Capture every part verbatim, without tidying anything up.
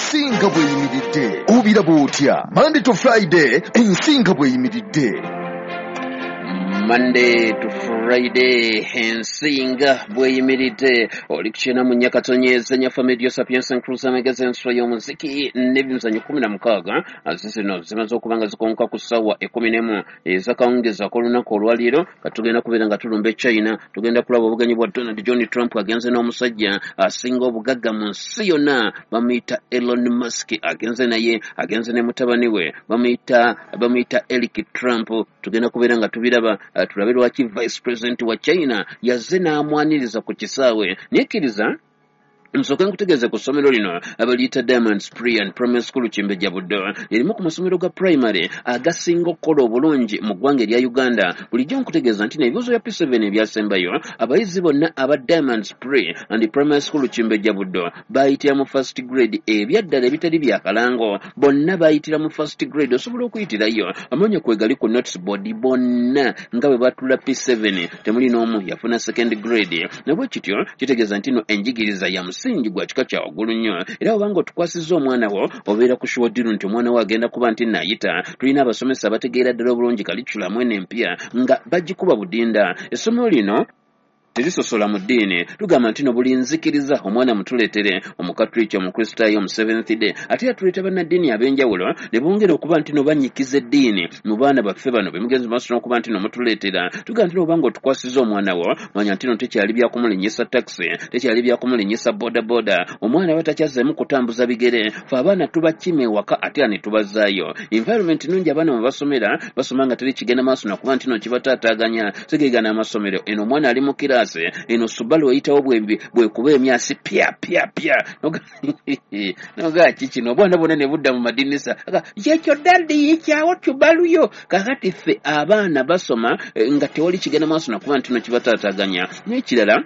Ensi nga bw'eyimiridde. Obiraba otya? Monday to Friday, ensi nga bw'eyimiridde. Monday to Friday, ensi nga bw'eyimiridde. Oli ku kyenda mu nnya katonyeza nyaffe Medio Sapienza Cruise, amagezi, enswa y'omuziki n'ebimizanyo. Kumi na mukaaga zizino zimaze okuba nga zikonka ku ssaawa ekkumi n'emu ezakawungezi ak'olunaku olwaleero. Katugenda kubeera nga tulumba e China, tugenda kulaba obugenyi bwa Donald John Trump agenze n'omusajja asinga obugagga mu nsi yonna, bamuyita Elon Musk. Agenze naye, agenze ne mutabani we, bamuyita bamuyita Eric Trump. Tugenda kubeera nga tubiraba, uh, tulabe lwaki vice president wa China yazze n'amwaniriza ku kisaawe. Naye nsooke nkutegeeze ku ssomero lino abaliyita Diamonds Pre and Primary School Kimbejja Buddo. Erimu ku masomero ga primary agasinga okukola obulungi mu ggwanga erya Uganda. Bulijjo nkutegeeza nti n'ebibuuzo bya P seven ebyasembayo, abayizi bonna aba Diamonds Pre and Primary School Kimbejja Buddo bayitira mu first grade. Ebyaddala ebitali byakalango, bonna bayitira mu first grade. Osobola okuyitirayo, amanya kwegali ku notice board. Bonna nga bwe batula P seven, temuli n'omu yafuna second grade. Nabwe kityo kitegeeza nti no enjigiriza ya musingi gwa kika kya waggulu nnyo. Era obanga otukwasizza omwana wo, obeera ku sure deal nti omwana wo agenda kuba nti naayita. Tulina abasomesa abategeera ddala obulungi curriculum eno empya nga bagikuba budinda. Essomero lino terisosola mu ddiini. Tugamba nti no buli nzikiriza omwana mutuleetere, Omukatuliki, Omukristaayo, Omuseventh Day. Ate era tuleeta bannaddiini ab'enjawulo ne bongera okuba nti no banyikiza eddiini mu baana baffe bano bemugenzi maaso n'okuba nti no mutuleetera. Tugamba nti no obanga otukwasiza omwana wo, manya nti no tekyali byakumulinyisa takisi, tekyali byakumulinyisa bodaboda. Omwana aba takyazzeemu kutambuza bigere. Fe abaana tubakima ewaka ate era ne tubazzaayo. Environment nungi abaana mwe basomera, basoma nga teri kigenda maaso nakuba nti no kibataataaganya. Segegana amasomero eno, omwana ali mu kiraasi, eno Subaru eyitawo bwekuba emyasi pya pya pya, nogaa kikino, obwana bwonna ne budda mu madinisa, kyekyo daddy yikyawo tubaluyo. Kakati ffe abaana basoma eh, nga tewali kigenda maaso nakuba nti no kibataataaganya. N'ekirala,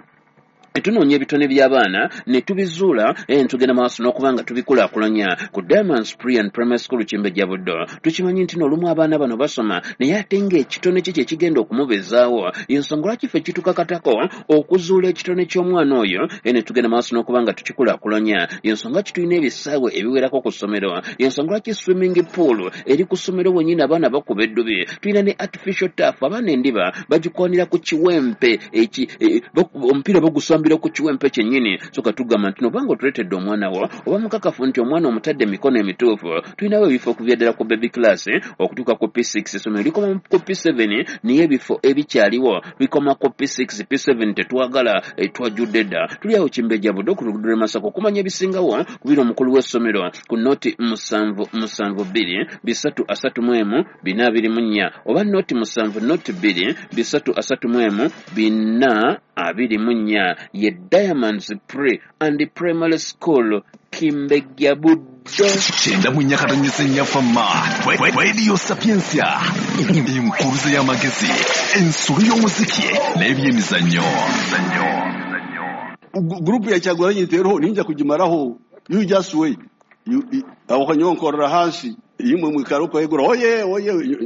tunoonya ebitone by'abaana ne tubizuula, eh, tugenda maaso n'okuba nga tubikulaakulanya ku Diamonds Pre and Primary School Kimbejja Buddo. Tukimanyi nti n'olumu abaana bano basoma, naye ate ng'ekitone kye kyekigenda okumubeezaawo. Ensonga lwaki ffe kitukakatako okuzuula ekitone ky'omwana oyo, eh, ne tugenda maaso n'okuba nga tukikulaakulanya. Ensonga ki tulina ebisaawe ebiwerako ku ssomero. Ensonga lwaki swimming pool eri ku ssomero wennyini, abaana bakuba eddubi. Tulina ne artificial turf, abaana endiba bagikwanira ku kiwempe eki eh, omupiira bagusambira ku kiwempe kyennyini. So katugamba nti nobanga otuleetedde omwana wo, oba mukakafu nti omwana omutadde emikono emituufu. Tulinawo ebifo okuvya ddala ku baby class okutuuka ku P six. Essomero likoma ku P seven, naye ebifo ebikyaliwo bikoma ku P six. P seven tetwagala, eh, twajjudde dda. Tuli awo Kimbejja Buddo ku luguudo lw'e Masaka. Okumanya ebisingawo, kubira omukulu w'essomero ku noti musanvu musanvu bbiri bisatu asatu mu emu bina abiri mu nnya, oba noti musanvu noti bbiri bisatu asatu mu emu bina abiri mu nnya. Ye Diamonds Pre and Primary School Kimbejja Buddo. Kyenda mu nnya katonyeza ennyafama Radio Sapiensia, enkuruze y'amagezi, ensolo y'omuziki n'ebyemizannyo. Group ya Kyagulanyi teroho, ninja kugimaraho. You just wait. You- you- aho kanyonkorera hansi imwe mwikara uko yegura oye oye.